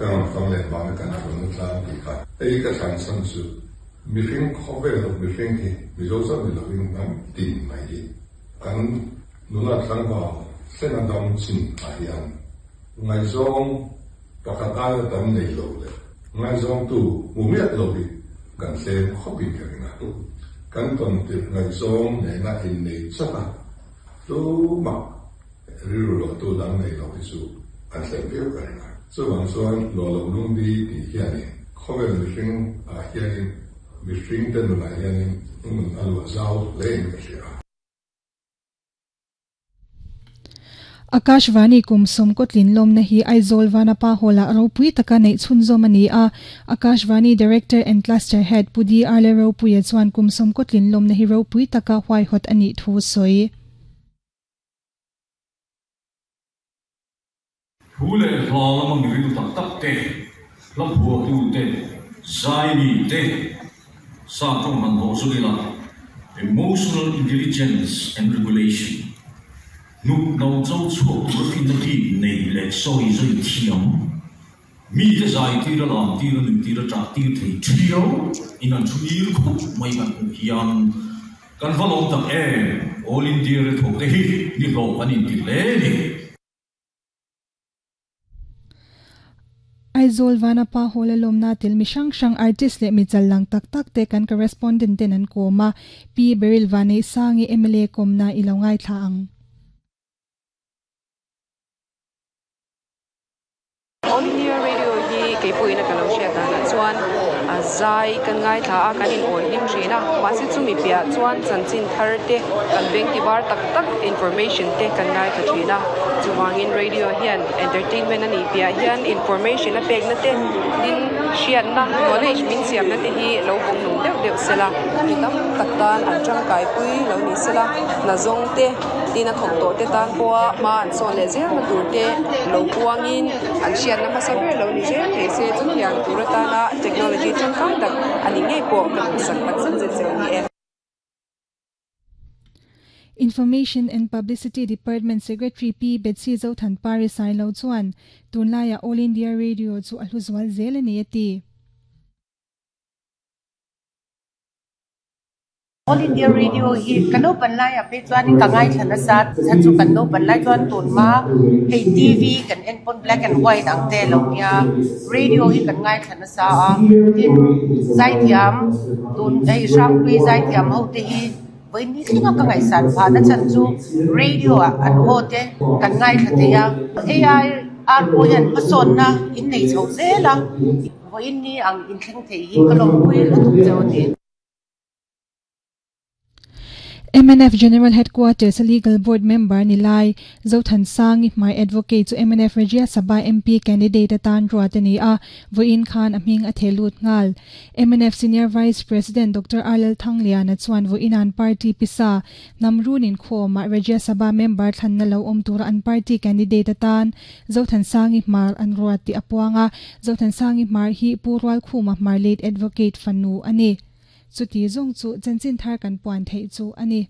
Ka rawn fang leh vanga kan hrulhna tlang tih kha. Hei ka thlan chhan chu mihring khawvel mihring hi Mizo chauh ni lovin hnam tin mai hi kan nula tlangval thlenga dam chin ah hian ngaihzawng pakhat aia tam nei lo leh ngaihzawngtu hmu miah lo hi kan tlem khawpin ka ring a. Kan tawn tirh ngaihzawng nena innei chauh a tumah Rilru lotu dang nei lo hi chu an hlep viau ka ring a. Chuvang chuan lawh loh lungdi tih hianin khawvel mihring ah hianin mihring te nunah hianin hmun a luah zau hlein ka hria a. Akashvani kum sawmkawtlin lawmna hi Aizawl Vanapa Hall-ah ropui taka neih chhunzawm a ni a. Akashvani Director and Cluster Head Pu DR Lalropuia chuan kum sawmkawtlin lawmna hi ropui taka huaihawt a nih thu a sawi. Thu leh hla lama miril tak tak te, hla phuahtu te, zaimi te, sa tawng han hawh zut ila, Emotional Intelligence and Regulation, hnuk no cho chhuak tura finna bik nei leh sawi zui thiam, mite zai tira lam tira nui tira ṭah tir thei ṭhiau in an thu ngir khup mai kan hmuh hian kan va lawm tak em! All India ri thawk te hi ni hlawh kan inti hle a ni. Aizawl Vanapa Hall a lawmna tel mi hrang hrang artist leh mi chal lang tak tak te kan correspondent ten an kawm a, Pi Beryl Vaneihsangi mla kawmna i lo ngaithla ang. All India Radio hi kei pawhin a ka lo hriat danah chuan a zai kan ngaithla a, kan in awi hlim thin a, mahse chumi piah chuan chanchin thar te kan beng ti var tak tak information te kan ngaithla thin a, chuvangin radio hian entertainment a nih piah hian information a pekna te tin hriatna knowledge min siamna te hi lo vawng nung deuh deuh sela, mi tam tak tan an tangkaipui lo ni sela, hna zawng te. Tin a thawk tawh te tan pawha hma an sawn leh zel na tur te lo puangin an hriatna hmasa ber lo ni zel thei se chutiang tur atana technology tangkai tak a ni ngei pawh ka duhsak tak zet zet cheu ni e. Information and Publicity Department Secretary Pi Betsy Zothanpari Sailo chuan tunlaiah All India Radio chu a hlu zual zel a ni a ti. All India Radio hi ka naupan laiah phei chuanin ka ngaithla nasa chhan chu kan naupan lai chuan tun hma hei TV kan en pawn black and white ang te lo nia radio hi kan ngaithla nasa a tin zaithiam tun hei hrangpui zaithiam ho te hi vawi ni thleng a ka ngaihsan phah na chhan chu radio ah an aw te kan ngaithla thei a AI ar pawh hian hmasawnna in nei chho zel a vawiin ni ang inthleng thei hi ka lawmpui lutuk cheu a ni. Mnf General Headquarters a Legal Board member ni lai, Zothansangi hmai Advocate chu mnf Rajya Sabha MP candidate atan ruat a ni a, vawiin khan a hming a theh lut nghal. Mnf Senior Vice President Doctor R Lalthangliana chuan vawiin an party pisa hnam run inkhawmah Rajya Sabha member thlanna lo awm tura an party candidate atan Zothansangi Hmar an ruat tih a puang a, Zothansangi Hmar hi Pu Rualkhuma Hmar late Advocate fanu a ni. Chuti zawng chu chanchin thar kan puan theih chu a ni.